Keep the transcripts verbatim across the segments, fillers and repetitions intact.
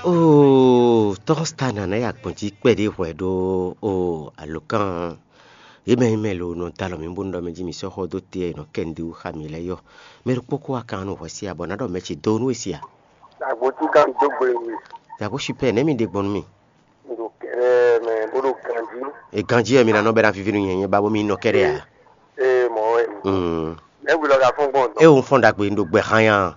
Oo, tɔ́ Stan ná ya gbɔn jí kpɛɖé hwɛ ɖó oo alǒkan yě mɛ e mɛ lo nɔ dó alɔ mǐ bónú ɖɔ mɛ jí mǐ sɔ́ xɔ dó te e è nɔ kɛ nǔɖé wú xá mǐ lɛ́ɛ yɔ. Mɛ ɖokpó kó wá kan nú hwɛ sí abɔ ná ɖɔ mɛ ce dó nú e si a? Agbǒcíkan dó gbe mi. Yǎgó sipɛ nɛ̌ mi ɖe gbɔn nú mì? Ɖo kɛɖɛɛ mɛ bó ɖo ganjí. E ganjí wɛ mi ná nɔ bɛ ná víví nú nyɛ nyɛ ba bó mi nɔ kɛɖɛ a? Ee, mɔ̌ wɛ. Mm. Mɛ̌ hwi lɔ ka fɔ́n gbɔn dɔn? E wo fɔ́n ɖagbe un ɖo gbɛ xán ya.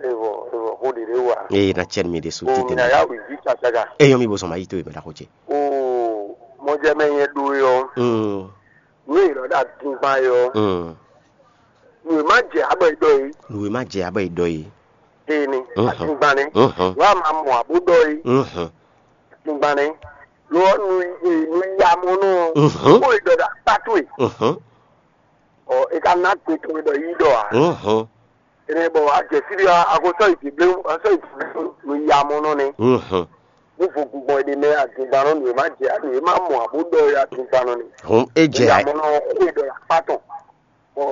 Evɔ evɔ xó ɖě ɖé wa. Ee, na cɛ mi ɖe su tite. Mina ya wǐ jí cacaga. E yɔ mi bo sɔn ma yi to e mɛ ɖaxó ce. Oo, mɔjɛ mɛ nyɛ ɖó yɔ. Mm. Nú èlɔ ɖo adingban yɔ. Mm. Nú è má jɛ abɔ yi ɖɔ yi. Nú è má jɛ abɔ yi ɖɔ yi. Ee ni. Mhm. Adingban ni. Mhm. Wà á máa mɔ àbó ɖɔ yi. Mhm. Adingban ni. Lɔ nu nu ya mɔ nɔ. Mhm. Kó e ɖɔ ɖo akpá towe. Mhm. Ɔ, e ka ná gbe tɔn ɖɔ yi ɖɔ a? Mhm. Ene bɔ a jɛ fí ɖé a ko sɔ́ yi dǐblé, a sɔ́ yi dǐblé nu ya mɔ nɔ nɛ. Mhm. Ní vo gungbɔn e ɖe mɛ adingban nɔ nǔ e má jɛ nǔ e má mɔ abo ɖɔ ya adingban nɔ nɛ. Hɔn e jɛ ya a? Mɔ nɔ xó e ɖɔ ya kpá tɔn. Bɔ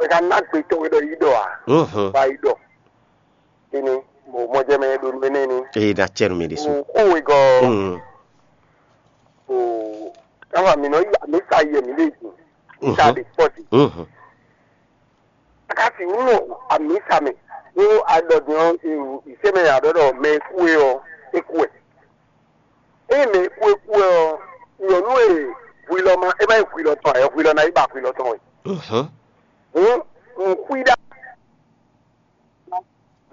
e ka ná gbe tɔn e ɖɔ yi ɖɔ a? Mhm. Ba yi ɖɔ. Ene, mo mɔ jɛ mɛ ɖo nú énɛ́ ni. Ee, na cɛ nú mi ɖésú. O xó e gɔ. Mhm. O káwa mi nɔ yi amisa yɛ mi lé dzi. Misa ɖe kpɔ dzi. Mhm. Akasi wúlò amisa mɛ. Wo adɔ din ɔ, ìsɛmɛ adɔ dɔ mɛ kú e ɔ, e kú ɛ. Eye mɛ kú e kú ɛ ɔ, nyɔnu e hwilɔ ma, e ma yi hwilɔ tɔn ɛ, hwilɔ na yi ba hwilɔ tɔn wɛ. Mhm. Hǔn, un xwí ɖa.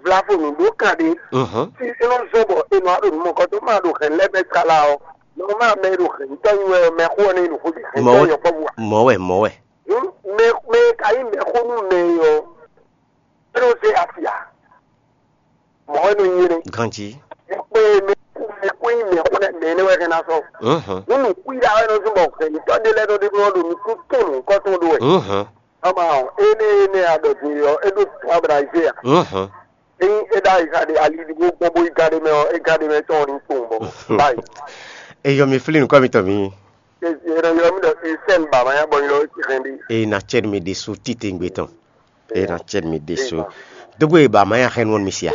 Vlavo nǔ ɖó kan ɖé. Mhm. Tí é nɔ zɔ́n bɔ è nɔ wá ɖo nǔ mɔkɔtɔn ma ɖo hɛ̌n lɛ́ɛ mɛ kála ɔ́, nɔ ma mɛ e ɖo hɛ̌n tɔn nyi wɛ ɔ́, mɛ xó ɔ́ nɔ nyi nǔ xó jí hɛ̌n Mɔ̌ tɔn wɛ, nyɔ̌kpɔ́vú ǎ. Mɔ̌ wɛ, mɔ̌ wɛ. Hǔn mɛ mɛ e ka nyí mɛxó nú mɛ e ɔ́, é nɔ zé asi ǎ. Mɔ̌ wɛ nɔ nyi énɛ́. Ganjí. Kpé mɛ kú mɛ kú nyí mɛxó nɛ́ mɛ énɛ́ wɛ hɛn ná sɔ́. Mhm. Hǔn nǔ xwíɖá wɛ nɔ zɔ́n bɔ hɛ̌n tɔn ɖé lɛ́ɛ nɔ ɖe nɔ ɖo nǔ kún kɛn nǔkɔtɔn ɖó wɛ. Mhm. Ama ɔ́, énɛ́ énɛ́ a ɖɔ din ɔ́, é ɖó Ablahazé a? Mhm. Ényí é ɖó ayixa ɖé ali ɖokpó gbɔn bó yi gán ɖé mɛ ɔ́, é gán ɖé mɛ tɔn ɔ́ ní kpowun bɔ báyìí. Eyɔ mi flí nukɔ mitɔn mi. É é nɔ ylɔ́ mì ɖɔ Esɛ́n ba ma nyá bɔ ylɔ́ é hɛn ɖi. Eye na cɛ mi ɖésú titewungbe tɔn. Eye na cɛ mi ɖésú. Dógbe ba ma nyá hɛn wɔn mi sia.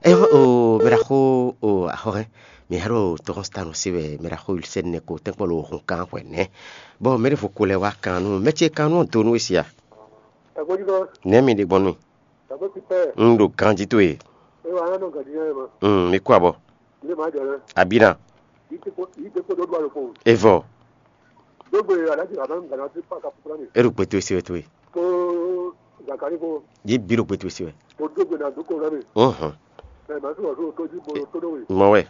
Eye o mɛ ɖaxó o axɔhɛn mi hɛn ɖo tɔxɔnsitanu se wɛ mɛ ɖaxó Wilsɛn nɛ ko tɛnkpɔ lo hun kan hwɛ nɛ. Bɔ mɛ ɖevo ko lɛ wá kan nú mɛ ce kan nú donu e sia. Ẹ̀gbọ́n jí kan, Nɛ mi ɖe gbɔn nú. Ẹ̀gbọ́n ti pẹ́, Un ɖo ganjí towe. Ẹ wà lánàá gàdí yẹn mọ́. Mm, mi kú abɔ. Ilé màá jọ rẹ. Abina. Yìí ti kó yìí ti kó dó dúró àlòkò. Evɔ. Dógbe alájí bàbá ń gbàdá sí pàkà fúnra mi. Eru gbé towe se wɛ towe. Kó Zakari kó Yé bi ɖo gbé towe se wɛ. Kó dógbe náà dókò rẹ mi. Mhm. Ẹ màá sọ̀rọ̀ sóò tó jí mo tó dó wè. Mɔ wɛ.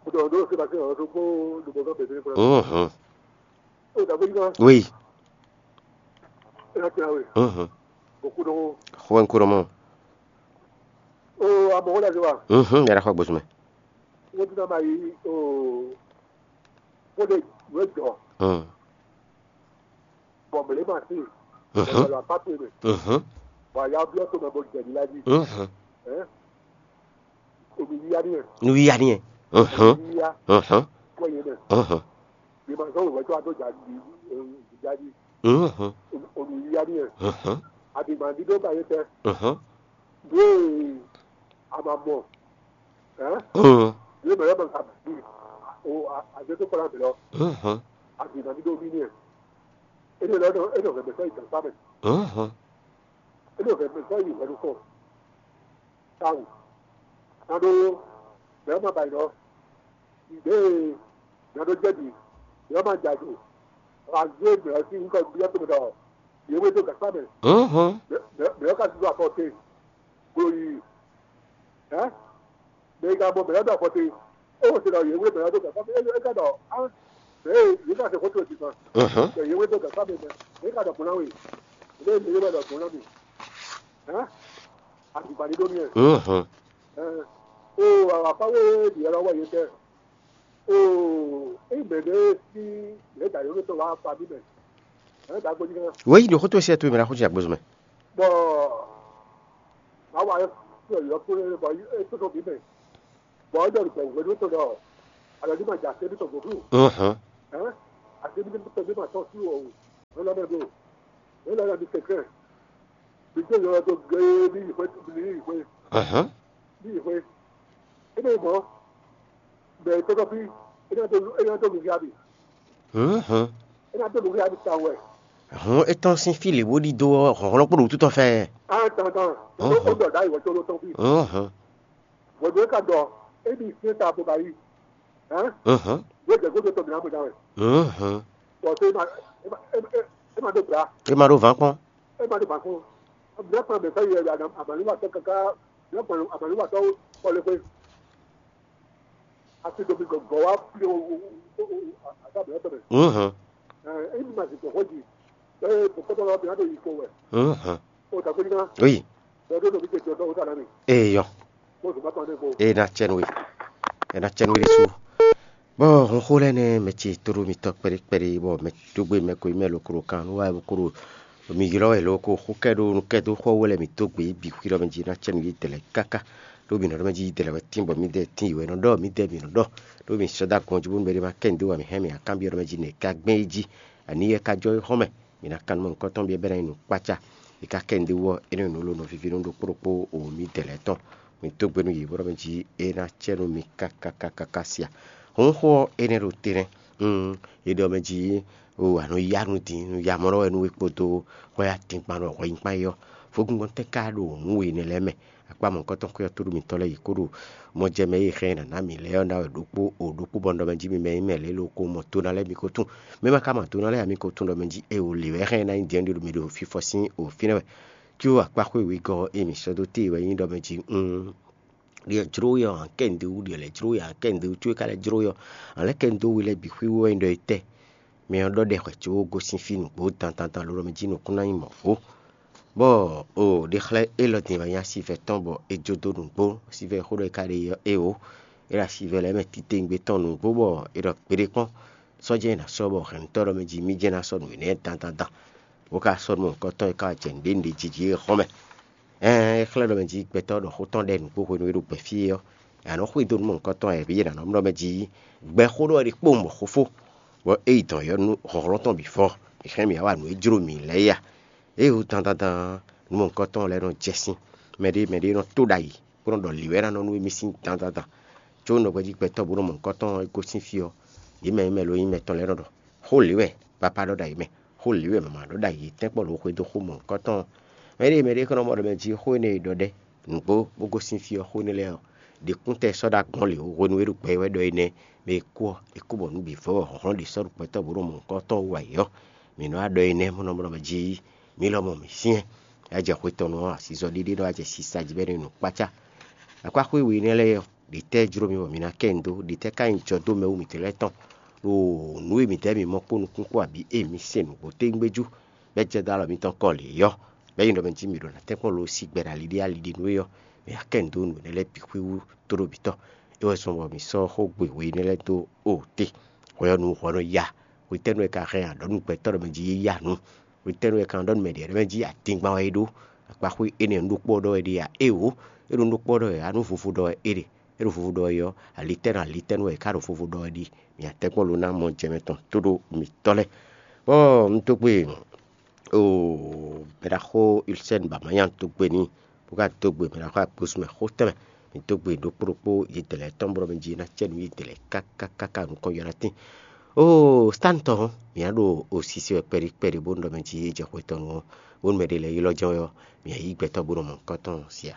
Mo tọ̀ dó sí bàtí ọ̀rọ̀ tó kó lùbọ̀ kan bèbè fúnra mi. Mhm. Ó dàgbé yìí kan. Oui. Ẹ ti ra wè. Mhm. Kò kú dó. Xɔ ń kúrò mọ́. Ó amọ̀ wọ́n dàgbé wa. Mhm. Yàrá xɔ gbósùn mẹ́. Wọ́n ti náà máa yí ó. Kó lè wé jọ. Mhm. Bɔn mɛ lɛ ma se. Mhm. Bɔn la pa pe mɛ. Mhm. Bɔn a ya biɔ to mɛ bɔ jɛ ni la di. Mhm. Ɛ? Omi yiya ni yɛ. Nu yiya ni yɛ. Mhm. Omi yiya. Mhm. Kɔ yɛ mɛ. Mhm. Ni ma sɔn wɛ to a to ja di ja di. Mhm. Omi yiya ni yɛ. Mhm. A di ma di do ba yɛ tɛ. Mhm. Ye a ma mɔ. Ɛ? Mhm. Ye mɛ yɛ mɛ ka bi. O a a jɛ to kɔla bɛ lɔ. Mhm. A di ma di do mi ni yɛ. Ele lɔ nɔ ele hɛn mɛ sɔ yi gangba mɛ. Mhm. Ele hɛn mɛ sɔ yi hwɛɖukɔ. Tawu. Nado mɛ ma ba yi nɔ. Ɖe nado jɛbi mɛ ma ja do. Aze mɛ si nkɔ bi yɛ to mɛ dɔ. Yewe do gangba mɛ. Mhm. Mɛ mɛ mɛ ka do afɔ te. Glo yi. Ɛ? Mɛ ka bɔ mɛ ɖo afɔ te. E wo se ɖɔ yewe mɛ ɖo gangba mɛ. E ka ɖɔ a. Mɛ ye ka se xɔto ti kan. Mhm. Mɛ yewe do gangba mɛ mɛ. Mɛ ka ɖɔ bɔn na we. Mɛ yewe ɖɔ bɔn na mi. Hɛn? Azugba ɖi ɖó mi ɛ. Mhm. Ɛɛ, o awakpa wo ɖi ɛlɔ wɛ yě tɛ. O, eyi mɛ ɖe si yě da yǒ tɔ wá fa mì mɛ. Ɛɛ, da gbɔdzi kan. Wěyi ɖo xótó sɛ tó mɛ la xótó agbózú mɛ. Bɔ awa yɔ yɔ kó bɔ e tó tɔ mì mɛ. Bɔ e ɖɔ gbɛ wɛ ɖó tɔ dɔ. Alɔ ní ma dza se ní tɔ gbɔdú. Mhm. Ɛɛ, ase ní tɔ ní ma tɔ sí o. Ɛlɔ mɛ ɖo. Ɛlɔ mɛ ɖo kɛkɛ. Mi dó yɔ dó gé ní yi xwé ní yi xwé. Ahán. Ní yi xwé. Ebe mɔ bɛ tɔtɔfi ena to ena to luhia bi. Mhm. Ena to luhia bi ta wɛ. Hɔn etɔn sín fí lě bó ɖidó ɔ́, hlɔ̌nhlɔ́n kpó ɖo wútu tɔn fɛ. Ah, tan tan. Mhm. O dɔ da iwɔ tó ló tɔn fi. Mhm. Bɔdɔ ka dɔ ebi fiɛ ta bo ba yi. Hein? Mhm. Yóò jẹ kó tó tɔ mi na bo da wɛ. Mhm. Tɔ se ma e ma e ma e ma do bra. E ma ɖo vǎn kpɔn. E ma do ba ko. Bla kpa bɛ fɛ yɛ ya amaluwa tɔ kaka bla kpa amaluwa tɔ kɔle ko. Asi do mi gɔgɔ wa fi o o o o ata bɛ tɔ bɛ. Mhm. Eh, e ma si tɔ ko ji. Eh, ko ko tɔ la bi na do yi ko wɛ. Mhm. O ta ko ni na. Oui. Dɔ do do mi ke dɔ do o ta na mi. Eyɔ. Mo so ba tɔ ne ko. E na cɛn we. E na cɛn we ɖésú. Bɔ hun xó lɛ́ɛ nɛ́ mɛ ce tóɖó mitɔ́ kpɛɖé kpɛɖé, bɔ mɛ dó gbe mɛ ko yi mɛ lo klo kan nú wá bo klo mi ylɔ́ wɛ lo ko xó kɛ ɖó nú kɛ dó xɔ wɛ lɛ mi dó gbe bǐ xwí ɖɔ mɛ jí ná cɛ nú yí dɛlɛ káká. Ɖó mi nɔ ɖɔ mɛ jí yí dɛlɛ wɛ tín bɔ mi dɛ tín yi wɛ nɔ ɖɔ mi dɛ mi nɔ ɖɔ. Ɖó mi sɔ́ dó agɔn jí bónú mɛ ɖé ma kɛ nǔ dó wa mi hɛn mi akábyɔ́ ɖɔ mɛ jí nɛ ka gbɛn yi jí. Ani yɛ ka jɔ yi xɔ́n mɛ, mi ná kan nú mɔ nukɔntɔn byɔ́ bɛ́ ná nyí nǔkpácá. Mi ka kɛ nǔ dó wú ɔ́, énɛ́ nǔ ló nɔ víví nú ɖokpó ɖokpó o mi dɛlɛ tɔn. Mi dó gbe nú yě bó ɖɔ mɛ jí é ná cɛ nú mi káká káká sia. Hǔn xó ɔ́ énɛ́ ɖo te nɛ́. È ɖɔ mɛ jí o a nɔ yá nú din nú ya mɔ ɖɔ wɛ nú we kpódó hwɛ atingban ɖo hwɛ nyíkpán é ɔ́, vodúngbɔ́n tɛ́ ká ɖo nǔ we énɛ́ lɛ́ɛ mɛ. Akpá mɔ̌hunkɔtɔn xwé ɔ́ tóɖó mitɔ́ lɛ́ɛ yi kó ɖo mɔ jɛ mɛ e xɛ nǎ ná mǐ lɛ́ɛ ɔ́ ná wɛ ɖokpó o ɖokpó bɔ un ɖɔ mɛ jí mi mɛ nyí mɛ lě lo ko mɔ to ná lɛ́ɛ mi ko tún. Mɛ ma ka mɔ to ná lɛ́ɛ ǎ mi ko tún ɖɔ mɛ jí e o lě wɛ xɛ ná nyí din ɔ́ ɖi ɖo mi ɖo fífɔ sín o fínɛ́ wɛ. Có akpá xwé wegɔ́ e mǐ sɔ́ dó téè wɛ nyí ɖɔ mɛ jí un ɖiɛ jló we ɔ́, a kɛ nǔɖé wú ɖiɛ lɛ́ jló we, a kɛ nǔɖé wú có é ka lɛ́ jló we ɔ́, a lɛ́ kɛ nǔɖé we lɛ́ɛ bǐ xwíwú wɛ nyí ɖɔ é tɛ́. Mɛ ɔ́ ɖɔ ɖɛ hwɛ có gosín fí nǔgbó dandandan ló ɖɔ mɛ jí nukún ná nyí mɔ̌ fó. Bɔ o ɖe xlɛ́ élɔ́ din wɛ nyí asivɛ tɔn bɔ é jó dó nǔgbó, asivɛ xó ɖɔ é ka ɖe é o. É ɖo asivɛ lɛ́ɛ mɛ titewungbe tɔn nǔgbó bɔ é ɖɔ gbeɖé kpɔ́n. Sɔ́ jɛ́n è nǎ sɔ́ bɔ hɛ̌nnutɔ́ ɖɔ mɛ jí mì jɛ́n ná sɔ́ nǔ énɛ́ dandandan. Bó ka sɔ́ nú mɔ̌hunkɔtɔn e ka wɛ jɛ nǔɖé nǔɖé jí jí é hɔn mɛ. Ɛɛn é xlɛ́ ɖɔ mɛ jí gbɛtɔ́ ɖɔ xó tɔn ɖɛ nǔgbó hwenu e ɖo gbɛ fí é ɔ́, a nǎ nɔ xwedó nú mɔ̌hunkɔtɔn wɛ vǐ e nǎ nɔ mlɔ́ mɛ jí gbɛxó ɖɔ ɖi kpó mɔ̌ xófó, bɔ é yi dɔn yɔ nú hlɔ̌nhlɔ́n tɔn bǐ fɔ. Mǐ xlɛ́ mǐ wá wa nǔ e jló mǐ lɛ́ɛ é a? É wú dandandan nú mɔ̌hunkɔtɔn lɛ́ɛ nɔ jɛ sín. Mɛɖé mɛɖé nɔ tó ɖ'ayǐ bó nɔ́ ɖɔ lǐ wɛ ná nɔ nú émí sín dandandan. Có nɔ hwɛjí gbɛtɔ́ bó nɔ mɔ nǔkɔntɔn e gosín fí ɔ́, yě mɛ e mɛ lo nyí mɛtɔn lɛ́ɛ nɔ ɖɔ: "Xó lě wɛ Papá ɖɔ ɖo ayǐ mɛ, xó lě wɛ Mama ɖɔ ɖo ayǐ, tɛ́nkpɔ́n ló xwedó xó mɔ nǔkɔntɔn ɔ́." Mɛ ɖé mɛ ɖé xɔ́ nɔ mɔ ɖɔ mɛ jí xó énɛ́ e ɖɔ ɖɛ́ nǔgbó bó gosín fí ɔ́, xó énɛ́ lɛ́ɛ ɔ́, ɖě kún tɛ sɔ́ ɖó agbɔ̌n lě ó, hwenu e ɖo gbɛ wɛ ɖɔ énɛ́, mɛ e kú ɔ́, è kú bɔ nǔ bǐ vɔ wɛ hlɔ̌nhlɔ́n ɖě sɔ́ ɖo gbɛtɔ́ bó nɔ mɔ nǔkɔntɔn wú ayǐ ɔ́. Mǐ nɔ wá ɖɔ énɛ́ mɔ nɔ mɔ ɖɔ mɛ jí mǐ lɔmɔ̌ mǐ syɛ́n. É wá jɛ xwe tɔn nu ɔ́, asizɔ ɖiɖe ɖɔ wá jɛ sisa jí bɔ é nɔ nyi nǔkpácá. Akpáxwé we énɛ́ lɛ́ɛ ɔ́, ɖě tɛ́ jló mi bɔ mi ná kɛ nyi dó? Ɖě tɛ́ ka nyí jɔ dó mɛ wú mǐtɛn lɛ́ɛ tɔn? Ɖo nǔ e mǐdɛɛ mi mɔ kpó nukún kpó abǐ e mi se nǔgbó tégbéjú, bɔ é jɛ dó alɔ mitɔn kɔ lě ɔ́, bɔ é nyí ɖɔ mɛ jí mi ɖo ná tɛ́nkpɔ́n lo sí gbɛ ɖo ali ɖé ali ɖé nú é ɔ́, mi ná kɛ nyi dó nǔ énɛ́ lɛ́ɛ bǐ xwíwú tóɖó bǐ tɔn. É wɛ zɔ́n bɔ mǐ sɔ́ xógbe we énɛ́ lɛ́ɛ dó o te. Hwɛ ɔ́ nu hwɛ nɔ ya. Hwetɛ́nu wɛ ka hɛn a ɖɔ nú gbɛtɔ́ ɖɔ mɛ jí é ya nǔ? Hwetɛ́nu wɛ ka ɖɔ nú mɛ ɖě ɖɔ mɛ jí adingban wɛ é ɖó? Akpaxwé énɛ́ nǔ ɖokpó ɔ́ ɖɔ wɛ ɖe a? Éeǒ, é ɖo nǔ ɖokpó ɔ́ ɖɔ wɛ ǎ, nú vovo ɖɔ wɛ é ɖe. É ɖo vovo ɖɔ wɛ ɔ́, alitɛ́nu alitɛ́nu wɛ é ka ɖo vovo ɖɔ wɛ ɖi. Mǐ atɛ́nkpɔ́n lo ná mɔ jɛ mɛ tɔn tóɖó mitɔ́ lɛ́ɛ. Bɔ un dó gbe o mɛɖaxó Ilsɛn ba ma nya dó gbe n'i, bó ka dó gbe mɛɖaxó Akpósú mɛ xó tɛnmɛ. Mǐ dó gbe ɖokpó ɖokpó yědɛlɛ tɔn bɔ mɛ jí ná cɛ nú yědɛlɛ káká káká nukɔn yɔ́ ná tín. Oo, Stan tɔn, mǐ á ɖo osisi wɛ kpɛɖi kpɛɖi bónú ɖɔ mɛ jí é jɛ xwe tɔn nu ɔ́, bónú mɛ ɖé lɛ́ɛ ylɔ́ jɛ́n wɛ ɔ́, mǐ á yí gbɛtɔ́ bó nɔ mɔ nukɔn tɔn sia.